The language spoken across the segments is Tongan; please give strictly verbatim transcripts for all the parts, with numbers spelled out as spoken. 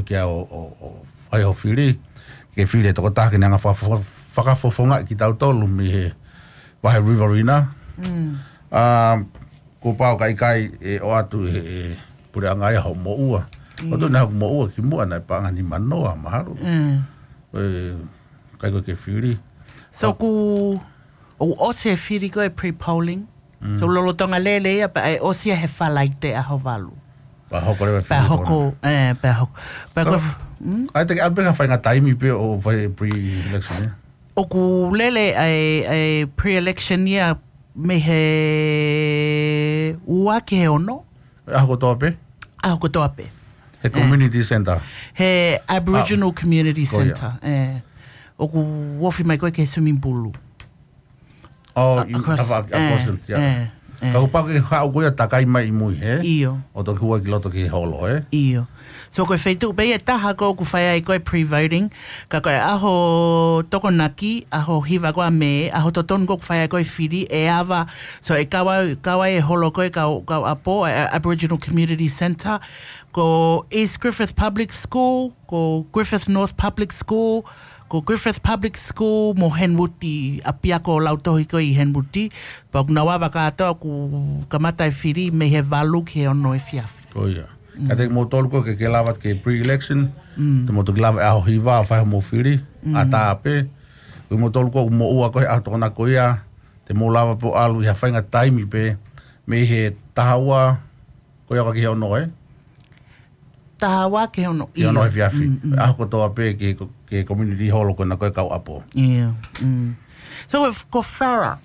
kia ʻo, ʻo, ʻo fai ho fili, ke fili e tokotaha ke ne hanga fakafo-, fakafofongaʻi kitautolu mei he vahe Riverina. Mm. Ā, kuo pau ka ʻikai e ʻoatu e, e puleʻanga ia ho moʻua. Mm. ʻOatu naʻa hoku moʻua ki muʻa naʻe paʻanga nimanoa mahalo. Mm. E, ʻikai ko e ke fili. So ʻoku, ʻoku ʻosi e fili ko e pre-polling. Mm. So lolotonga lele ia, pea ʻe ʻosi ia he Falaite ʻaho valu. Pea hoko leva e fili. Pea hoko, ē, pea hoko. Pea ko, mm? ʻAi te ke ʻalu pē ha faʻahinga taimi pē ʻo fai pre-election, ē? ʻOku lele ʻa e, ʻa e pre-election ia mei he ua ki he ono. ʻAho kotoa pē? ʻAho kotoa pē. He community centre? He Aboriginal Community Centre, ē. ʻOku ofi mai ko e ke swimming pool. Oh, you have a, a consent, yeah. Ka kuo pau ke haʻu ko ia takai mai ʻi mui, ē? ʻIo. ʻO toki hua ki loto ki he holo, ē? ʻIo. So ko e feituʻu pē ia ʻe taha ko ē ʻoku fai ai ko e pre-voting, ka ko e ʻaho Tokonaki, ʻaho hiva ko ē ʻa Mē, ʻaho totonu ko ē ʻoku fai ai ko e fili, ʻe ava, so ʻe kau ai, kau ai e holo ko ē kau, kau ʻapo, e, e Aboriginal Community Centre, ko East Griffith Public School, ko Griffith North Public School, ko Griffith Public School mo Henwood, ʻapiako lautohi ko ē ʻi Henwood, pea ʻoku nau ava kātoa ʻoku kamata e fili mei he valu ki he ono efiafi. Ko ia. Mm. Ka te mou tolu ko ē ke, ke lava ke pre-election, mm, te mou toki lava e ʻaho hiva ʻo fai hoʻomou fili, mm, ʻatā pē. Ko mou tolu ko ē ʻoku mou ua ko ē he ʻaho Tokonaki ko ia, te mou lava pē ʻo ʻalu ʻi ha faʻahinga taimi pē, mei he taha ua, ko ia ka ki he ono, ē? Taha ua ki he ono, ki he ono ʻio. Efiafi. Mm, mm. ʻAho kotoa pē ki he ko-, ki he community hall ko ena ko e kau ʻapo. ʻIo, mm. So, ko, ko Farrer,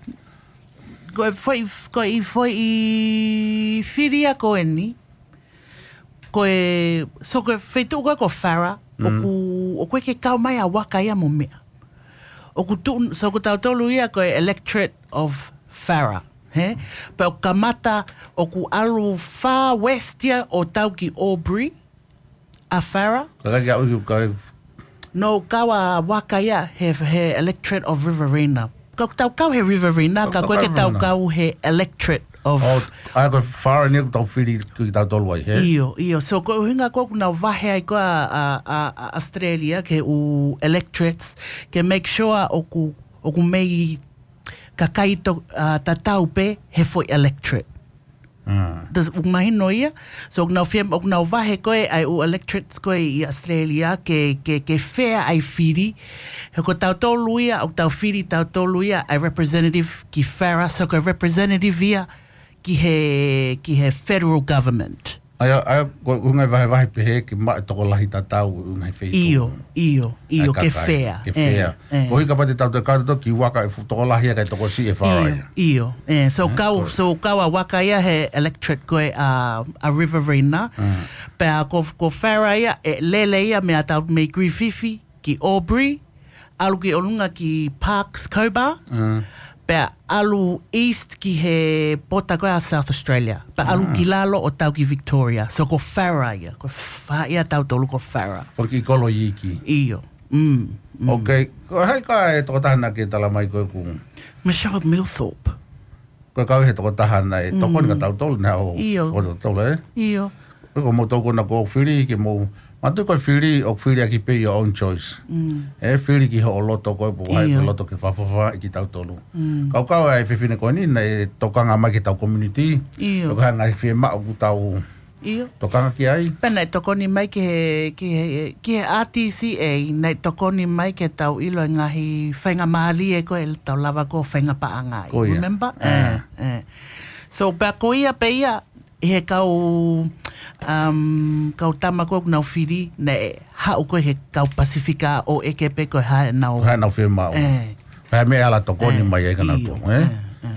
ko e foʻi, ko e foʻi fili ia ko eni, ko e, so ko e feituʻu ko ē ko Farrer, mm, ʻoku, ʻoku ʻikai ke kau mai ʻa Waka ia mo meʻa. ʻOku tuʻu, so ko tautolu ia ko e electorate of Farrer, hē? Pea ʻoku kamata, ʻoku ʻalu far west ia ʻo tau ki Albury, ʻa Farrer. Ka ʻikai ke aʻu ki, ka ʻikai. No, kau ʻa Waka ia he, he electorate of Riverina. Ka ʻoku tau kau he Riverina, ka ʻoku ʻikai ke tau kau he electorate of. Oh, ʻa ia ko Farrer eni ʻoku tau fili kitautolu ai, hē? ʻIo, ʻio. So, ko e ʻuhinga ko ē ʻoku nau vahe ai ko ē ʻa, ʻa, ʻa, ʻa Australia ki he ʻū electorates, ke make sure ʻoku, ʻoku mei kakai to-, ʻa, tatau pē he foʻi electorate. Mm. Does, ʻoku mahino ia? So, ʻoku nau fie, ʻoku nau vahe ko ē ʻa e ʻū electorates ko ē ʻi Australia ke, ke, ke fair ʻa e fili. He ko tautolu ia, ʻoku tau fili tautolu ia ʻa e representative ki Farrer, so ko e representative ia ki he, ki he federal government. ʻA ia, ʻa ia, ko, ko e ngaahi vahevahe pehē ke maʻu e tokolahi tatau ʻi he ngaahi feituʻu. ʻIo, ʻio, ʻio, ke fair. Ke fair. Ē, ē. Koeʻuhi kapau te tau toe kau tautolu ki Waka ʻe fuʻu tokolahi ia kae tokosiʻi e Farrer ia. ʻIo, ʻio. Ē, so kau, so kau ʻa Waka ia he electorate ko ē ʻa, ʻa Riverina. Mm. Pea ko, ko Farrer ia, ʻe lele ia mei ʻatau mei Griffith ki Albury, ʻalu ki ʻolunga ki Parkes Cobar, mm, pea ʻalu east ki he pota ko ē ʻa South Australia. Pea ʻalu, mm, ki lalo ʻo tau ki Victoria. So ko Farrer ia, ko Fa-, ia tautolu ko Farrer. Ko e kiʻi kolo iiki. ʻIo. Mm, mm. Ok, ko hai ka e tokotaha naʻa ke tala mai ko ē ʻoku? Michelle Milthorpe. Ko e kau he tokotaha naʻe tokoni kia tautolu naʻa ʻo, ʻio, ko tautolu, ē? ʻIo. Ko mou tokoni ko e fili ke mou, mātuʻaki ko e fili, ʻoku fili ʻaki pē your own choice. Mm. Ē, fili ki hoʻo loto ko ē, pe ko hai, ʻio, ko e loto ke fakafofongaʻi kitautolu. Mm. Kau kau ai fefine ko eni naʻe tokanga mai ki heʻetau community. ʻIo. Ko e hā e ngaahi fiemaʻu ʻoku tau, ʻio, tokanga ki ai. Pea naʻe tokoni mai ki he, ki he, ki he R T C A, naʻe tokoni mai ke tau ʻilo e ngaahi faingamālie ko ē ʻe tau lava ko ē ʻo faingapaʻanga ai. Ko ia. Remember? Ē. Ē, ē. So, pea ko ia pē ia, ʻi he kau, um, kau tama ko ē ʻoku nau fili, naʻe haʻu ko ē he kau Pasifika ʻo ʻeke pē ko e hā ʻenau, ko e hā ʻenau fiemaʻu. Ē. Ko e hā e meʻa ʻe ala tokoni mai ai kia nautolu, ē? Ē, ē.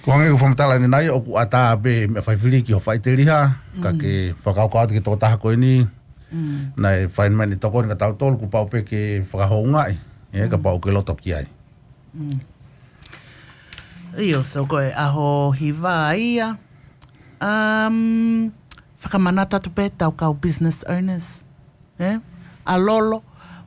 Ko e hangē ko e fakamatala ʻanenai, ʻoku ʻatā pē meʻa faifili ki hoʻo faʻiteliha, ka, mm, ke fakakaukau atu ki he tokotaha ko eni, mm, naʻe fai mai ʻene tokoni kia tautolu, kuo pau pē ke fakahoungaʻi, ē, kapau ʻoku ke loto ki ai. Mm. ʻIo, so ko e ʻaho hiva ia, um, fakamanatu atu pē ʻetau kau business owners. Ē? ʻA Lolo,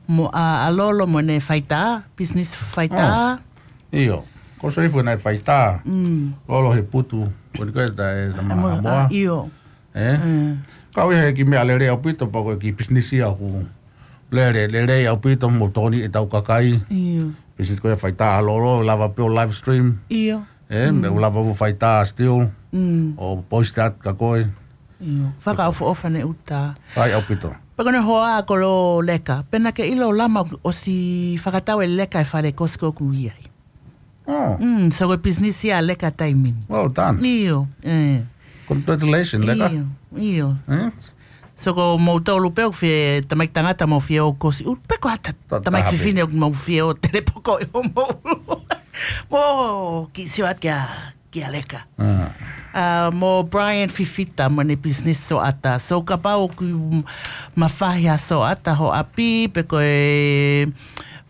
mo, ʻa, ʻa Lolo mo ʻene faitā, business faitā. Oh. ʻIo. Ko Sarifu naʻe faitā. Mm. Lolo he putu. Ko eni ko e ta, e ta, mo, Haʻamoa. ʻA, ʻio. Ē? Mm. Kau ia he kiʻi meʻa lelei ʻaupito, pea ko e kiʻi pisinisi ʻoku lele, lelei ʻaupito mo tokoni ʻetau kakai. ʻIo. Pisinisi ko ia faitā ʻa Lolo, lava pē ʻo live stream. ʻIo. ʻE, mo lava mo faitā still. Mm. ʻO post atu kia koe. ʻIo. Fakaʻofoʻofa ʻene ʻuta. ʻAi ʻaupito. Pea ko ʻene hoa ko Lolo Leka. Pea naʻá ke ʻilo Lama ʻosi fakatau ʻe Leka e fale kosi ko ʻoku ʻi ai. Oh. Mm, so ko e pisinisi ia ʻa Leka taimi ni. Well done. ʻIo, ʻe. Congratulations, Leka. ʻIo, ʻio. Eh? So ko moutolu pē ʻoku fie tamaiki tangata mo fie ō kosi ʻulu. Pe ko ha ta-, Ta-, tamaiki taha pē. Fefine ʻoku mou fie ō telepoko ʻi hoʻomou ʻulu. Mo kiʻi sio atu kia, kia Leka. Ah. Ah, mo Brian Fifita mo ʻene pisinisi soʻata. So kapau ʻoku mafahi ha soʻata ho ʻapi, pe ko e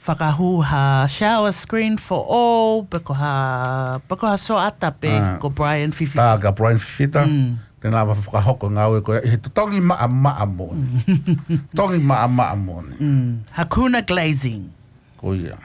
fakahū ha shower screen for all, pe ko ha, pe ko ha soʻata pē Ah. ko Brian Fifita. Tā kia Brian Fifita. Mm. Te ne lava fakahoko ngāue ko ia ʻi he totongi maʻamaʻa moʻoni. Totongi maʻamaʻa moʻoni. Mm. Hakuna glazing. Ko ia.